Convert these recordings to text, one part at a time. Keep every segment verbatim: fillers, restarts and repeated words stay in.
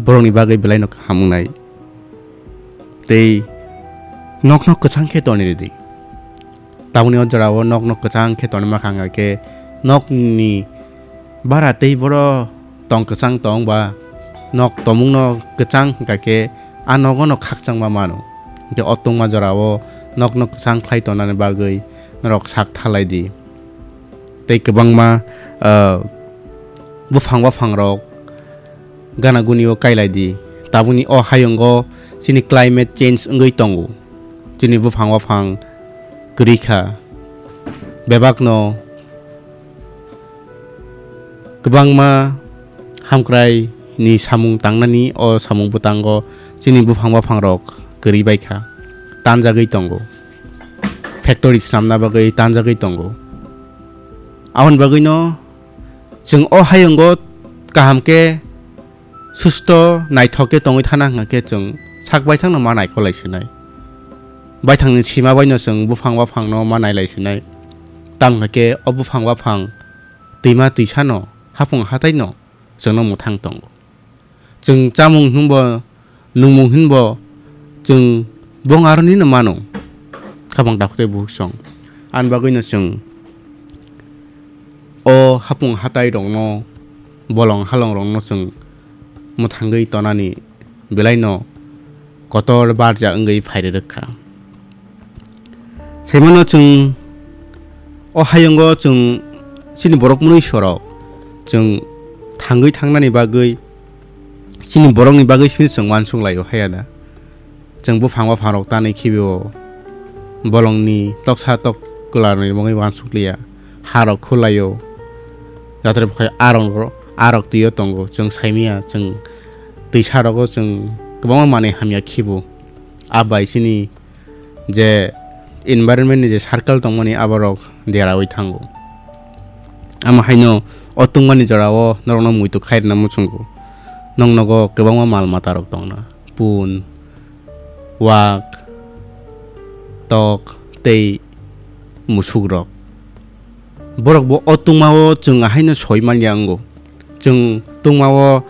borokni bagwi belaino kaham wngnai. Tei nokno kwchang khe tonwi rwdi. Tamoni o jorao nokno kwchang khe tonwi ma kha wngkha khe nokni bara tei boro tong kwchang tong ba nok tomungno kwchang wngkha khe a nogono khakchangma mano. Tei o tungma jorao nokno kwchang khlai tonani bagwi norok sak thalai di. Tei kwbangma, ah, buphang baphangrok gana gunio kailai di. Tabukni o hayungo chini climate change wngwi tongo. Chini buphang baphang kwrwi kha. Bebakno kwbangma hamkrai ni samung tangnani o samung bwtango chini buphang baphangrok kwrwi bai kha. Tanjagwi tongo. Factory swnamna bagwi tanjagwi tongo. Aboni bagwino chwng o hayungo kaham khe susto naithok khe tongwi thana hwnkha khe chwng sak baithangno ma naikolai sinai. Baithangni sima baino chwng buphang baphangno ma nailai sinai. Tamo hwnkha khe o buphang baphang twima twisano hapung hataino chwngno mwthang tongo. Chwng chamung hwnbo, nungmung hwnbo chwng bong aronino mano. Khabang takhuk tei bukhuk song. Ani bagwino chwng o hapung hatairokno, bolong halongrokno chwng mwthangwi tonani belaino kotor barja wngwi phairwrwk kha. Saimano chwng o hayungo chwng chini borok mwnwi sorok chwng thangwi thangnani bagwi chini borokni bagwi simi chwng uansuk laio haya da. Chwng buphang baphangrok tanwi khibio bolongni toksa tok kwlarni bagwi uansuk liya. Harok khulaio. Jotono bukhai arok, arok twiyo tongo. Chwng saimanya chwng twisarogo chwng kwbangma manwi hamya khibo. A bai chini je environment ni je circle tongmani aborok derawi thango. Amo haino o tungmani jorao norokno muitu khairwna muchungo. Noknogo kwbangma mal matarok tongna. Pun, wak, tok tei musukrok. Borokbo o tungmao chwng ahaino soi manya wngo. Chwng tungmao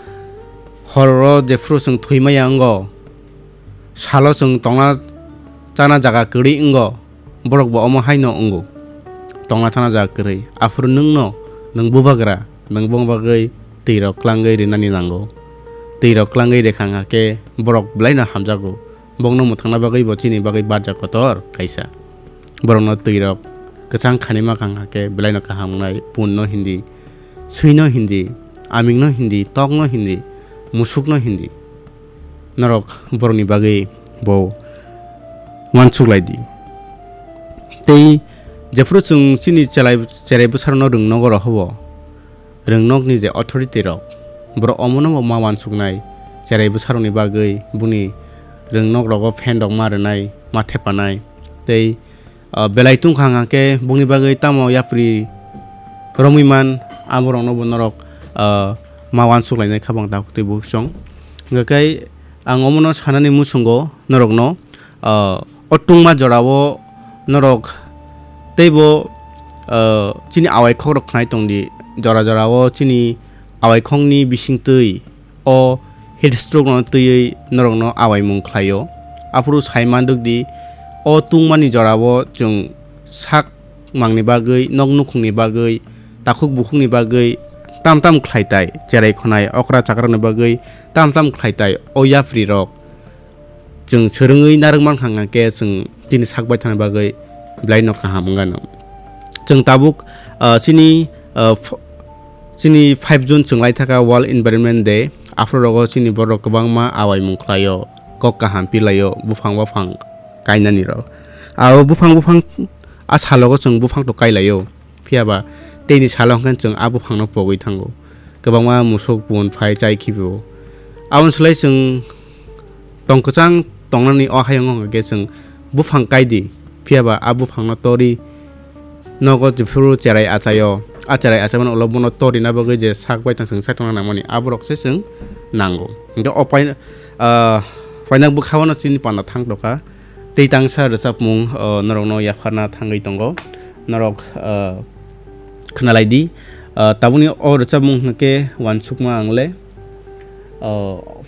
horro jephuru chwng thwi maya wngo, salo chwng tongna chana jaga kwrwi wngo, borokbo omo haino wngo. Tongna chana jaga kwrwi. Aphuru nwngno, nwng bubagra, nwng bongni bagwi twirok klangwi rinani nango. Twirok klangwi rwkha wngkha khe borok belaino hamjago. Bongno mwthangna bagwi bo chini bagwi barja kotor kaisa. Borokno twirok kwchang khanima kha wngkha khe belaino kaham wngnai, punno hindi, swino hindi, amingno hindi, tokno hindi, musukno hindi. Norok borokni bagwi bo uansuk lai di. Tei jephuru chwng chini chelai, cherai bwsarokno rwngnogo rohobo, rwngnokni je authority rok, borok omono bo ma uansuknai, cherai bwsarokni bagwi boni rwngnok rogo fan rok ma rwnai, ma thepanai, tei, ah, belai tungkha hwnkha khe bongni bagwi tamo yapri romwi man, aborokno bo norok, ah, ma uansuk lainai kha bang takhuk tei bukhuk song. Hwnkha khe ang omono sanani muchungo norokno, ah, o tungma jorao norok teibo, ah, chini awai khok rok khnai tongdi, jora jorao chini awai khokni bisingtwi o heat stroke no twiwi norokno awaimung khlaio. Aphuru sai manduk di, o tungmani jorao chwng sak mangni bagwi, nok nukhungni bagwi, takhuk bukhukni bagwi tam tam khlai tai, cherai khwnai okra chakrokni bagwi tam tam khlai tai o yapri rok. Chwng swrwngwi narwk mankha hwnkha khe chwng chini sak baithangni bagwi belaino kaham wngano. Chwng tabuk, ah, chini, ah, f-, chini five June chwng lai thaka World Environment Day. Aphuru rogo chini borok kwbangma awaimung khlaio, kok kaham pilaio, buphang baphang kainani rok. Abo buphang buphang a salogo chwng buphang to kailaio. Phiya ba teini salo hwnkhe chwng a buphangno pogwi thango. Kwbangma musuk pun phai chai khibi o. Aboni slai chwng tong kwchang tongnani o hayung hwnkhe chwng buphang kai di. Phiya ba a buphangno tori nogo jephuru cherai achaio. A cherai achaimani ulo bono torina bagwi je sak bai tong chwng sai tongna nangmani aborok se chwng nango. Hwnkhe o pai, ah, paina bwkhao no chini panda thang tokha. Tei tangsa rwchapmung, o, norokno yapharna thangwi tongo. Norok, o, khwnalai di. O, tabukni o rwchapmung hwnkhe uansukma ang le, o,